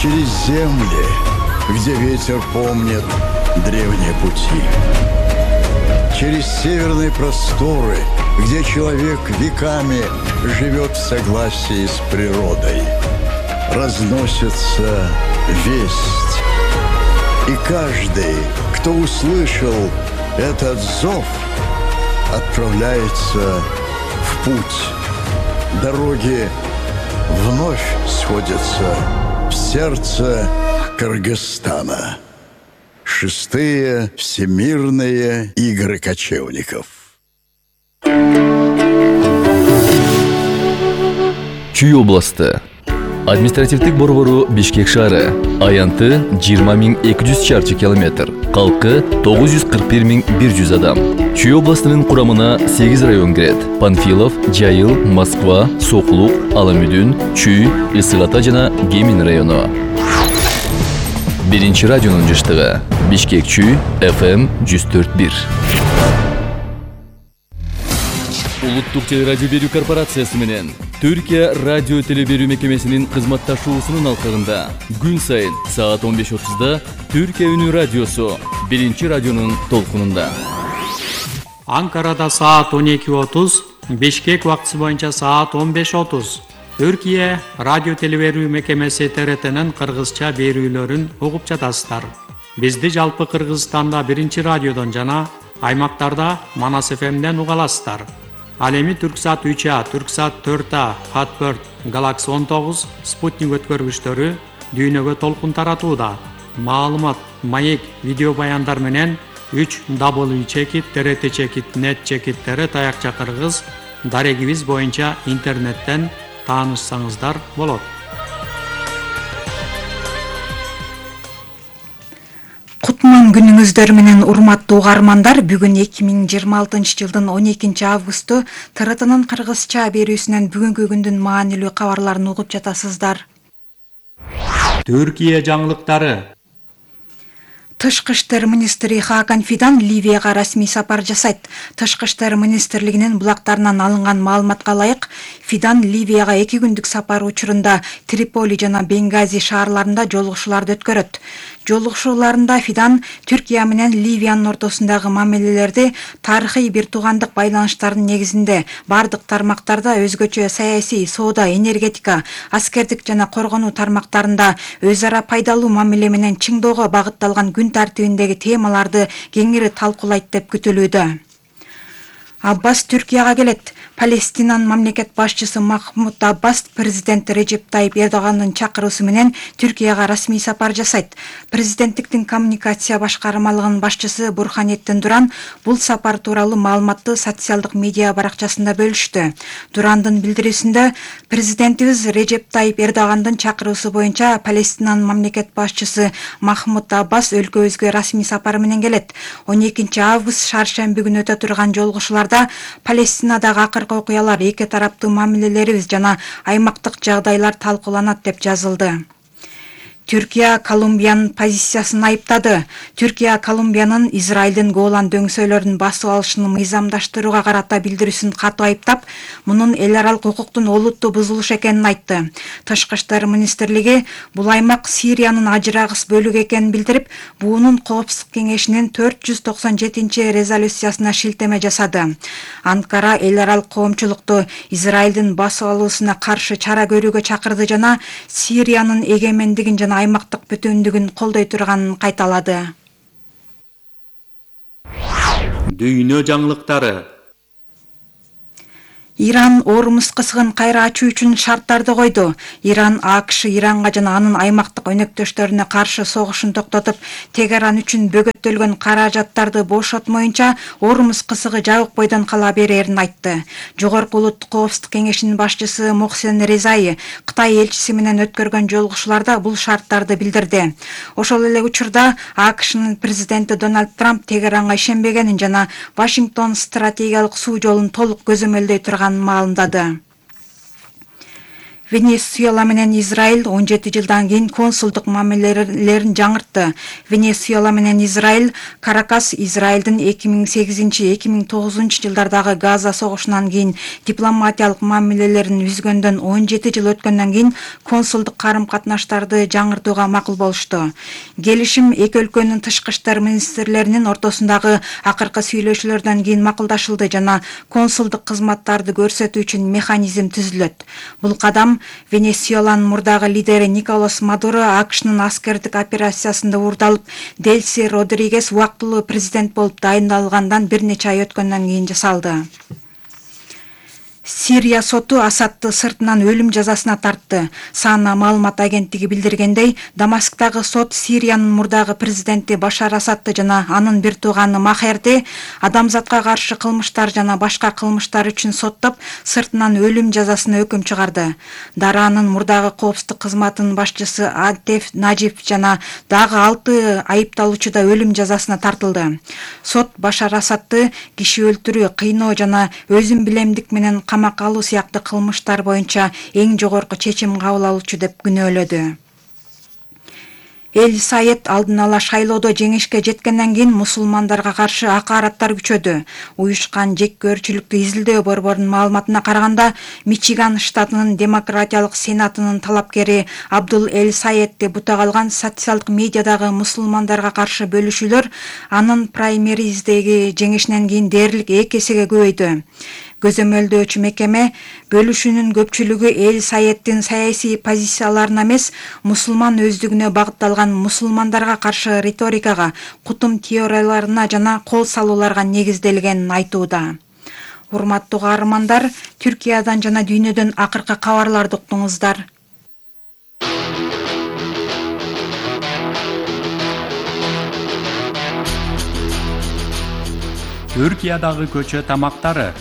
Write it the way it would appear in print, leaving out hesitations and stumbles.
через земли, где ветер помнит древние пути. Через северные просторы, где человек веками живет в согласии с природой. Разносится весть. И каждый, кто услышал этот зов, отправляется в путь. Дороги вновь сходятся в сердце Кыргызстана. Шестые всемирные игры кочевников. Чүй областы. Административдик борбору Бишкек шаары. Аянты 20.200 чарчы километр. Калкы 941.100 адам. Чүй областынын курамына 8 район кирет. Панфилов, Жайыл, Москва, Соклук, Аламүдүн, Чүй, Ысык Ата жана Гемин району. Биринчи радионун жыштыгы. Бишкек Чүй, FM 104.1. Улуттук телерадио берүү корпорациясы менен Түркия радио телеберүү мекемесинин кызматташуусунун алкагында күн сайын саат 15:30 Түркия үнү радиосу биринчи радионун толкунунда. Анкарада саат 12:30, Бишкек убактысы боюнча саат 15:30. Түркия радио телеберүү мекемеси ТРТнын кыргызча берүүлөрүн угуп жатасыздар. Бизди жалпы Кыргызстанда биринчи радиодон жана аймактарда Манас ФМден уга аласыздар. Ал эми Түрксат 3А, Түрксат 4А, Хатберт, Galaxy 19, Спутник өткөргүчтөрү дүйнөгө толкун таратууда. Маалымат, маек, видео баяндар менен 3w.trt.net таякча кыргыз дарегибиз боюнча интернеттен таанышсаңыздар болот. Кутман күнүңүздөр менен урматтуу угармандар, бүгүн 2026 жылдын 12 августу ТРТнын кыргызча берүүсүнөн бүгүнкү күндүн маанилүү кабарларын угуп жатасыздар. Түркия жаңылыктары. Тышкы иштер министри Хакан Фидан Ливияга расмий сапар жасайт. Тышкы иштер министрлигинин булактарынан алынган маалыматка ылайык, Фидан Ливияга 2 күндүк сапар учурунда Триполи жана Бенгази шаарларында жолугушууларды өткөрөт. Жолугушууларында Фидан Түркия менен Ливиянын ортосундагы мамилелерди тарыхый бир туугандык байланыштардын негизинде бардык тармактарда өзгөчө саясий, соода, энергетика, аскердик жана коргонуу тармактарында өз ара пайдалуу мамиле менен чыңдоого багытталган күн тартибиндеги темаларды кеңири талкуулайт деп күтүлүүдө. Аббас Түркияга келет. Палестинанын мамлекет башчысы Махмуд Аббас президент Режеп Тайип Эрдогандын чакыруусу менен Түркияга расмий сапар жасайт. Президенттиктин коммуникация башкармалыгынын башчысы Бурханеттин Дуран бул сапар тууралуу маалыматты социалдык медиа баракчасында бөлүштү. Дурандын билдирүүсүндө президентибиз Режеп Тайип Эрдогандын чакыруусу боюнча Палестинанын мамлекет башчысы Махмуд Аббас өлкөбүзгө расмий сапар менен келет. 12 август шаршемби күнү өтө турган жолугушууларда Палестинадагы акыркы окуялар, эки тараптуу мамилелерибиз жана аймактык жагдайлар талкууланат деп жазылды. Түркия Колумбиянын позициясын айыптады. Түркия Колумбиянын Израилдин Голан дөңсөөлөрүн басып алышын мыйзамдаштырууга карата билдирүүсүн катуу айыптап, мунун эл аралык укуктун олуттуу бузулушу экенин айтты. Тышкы иштер министрлиги бул аймак Сириянын ажырагыс бөлүгү экенин билдирип, буунун Коопсуздук кеңешинин 490-резолюциясына шилтеме жасады. Анкара эл аралык коомчулукту Израилдин басып алуусуна каршы чара көрүүгө чакырды жана Сириянын эгемендигин жана аймактык бүтүндүгүн колдой турганын кайталады. Дүйнө жаңылыктары. Иран Ормуз кысыгын кайра ачуу үчүн шарттарды койду. Иран АКШ Иранга жана анын аймактык өнөктөштөрүнө каршы согушун токтотуп, Тегеран үчүн бөгөттөлгөн каражаттарды бошотмоюнча Ормуз кысыгы жабык бойдон кала берерин айтты. Жогорку улуттук коопсуздук кеңешинин башчысы Мохсен Резаи Кытай элчиси менен өткөргөн жолугушууларда бул шарттарды билдирди. Ошол эле учурда АКШнын президенти Дональд Трамп Тегеранга ишенбегенин жана Вашингтон стратегиялык суу жолун толук көзөмөлдөй турганын маалымдады. Венесуэла менен Израиль 17 жылдан кийин консулдук мамилелерин жаңыртты. Венесуэла менен Израиль Каракас Израилдин 2008-2009 жылдардагы Газа согушунан кийин дипломатиялык мамилелерин үзгөндөн 17 жыл өткөндөн кийин консулдук карым-катнаштарды жаңыртууга макул болушту. Келишим эки өлкөнүн тышкы иштер министрлеринин ортосундагы акыркы сүйлөшүүлөрдөн кийин макулдашылды жана консулдук кызматтарды көрсөтүү үчүн механизм түзүлөт. Бул кадам Венесуэланын мурдагы лидери Николас Мадуро АКШнын аскердик операциясында уурдалып, Дельси Родригес убактылуу президент болуп дайындалгандан бир нече ай өткөндөн кийин жасалды. Сирия соту Асадты сыртынан өлүм жазасына тартты. Сана маалымат агенттиги билдиргендей, Дамасктагы сот Сириянын мурдагы президенти Башар Асадты жана анын бир тууганы Махерди адамзатка каршы кылмыштар жана башка кылмыштар үчүн соттоп, сыртынан өлүм жазасына өкүм чыгарды. Даранын мурдагы коопсуздук кызматынын башчысы Антеф Нажиф жана дагы 6 айыпталуучу да өлүм жазасына тартылды. Сот Башар Асадты киши өлтүрүү, кыйноо жана өзүн билемдик менен камакка алуу сыяктуу кылмыштар боюнча эң жогорку чечим кабыл алуучу деп күнөөлөдү. Эл Сайет алдын ала шайлоодо жеңишке жеткенден кийин мусулмандарга каршы акараттар күчөдү. Уюшкан жеккөрчүлүктү изилдөө борборунун маалыматына караганда, Мичиган штатынын демократиялык сенатынын талапкери Абдул Эл Сайетти бутак алган социалдык медиадагы мусулмандарга каршы бөлүшүүлөр анын праймериздеги жеңишинен кийин дээрлик 2 эсеге көбөйдү. Көзөмөлдөөчү мекеме бөлүшүүнүн көпчүлүгү Эл Сайеттин саясий позицияларына эмес, мусулман өздүгүнө багытталган мусулмандарга каршы риторикага, кутум теорияларына жана кол салууларга негизделгенин айтууда. Урматтуу каармандар, Түркиядан жана дүйнөдөн акыркы кабарларды уктуңуздар. Түркиядагы көчө тамактары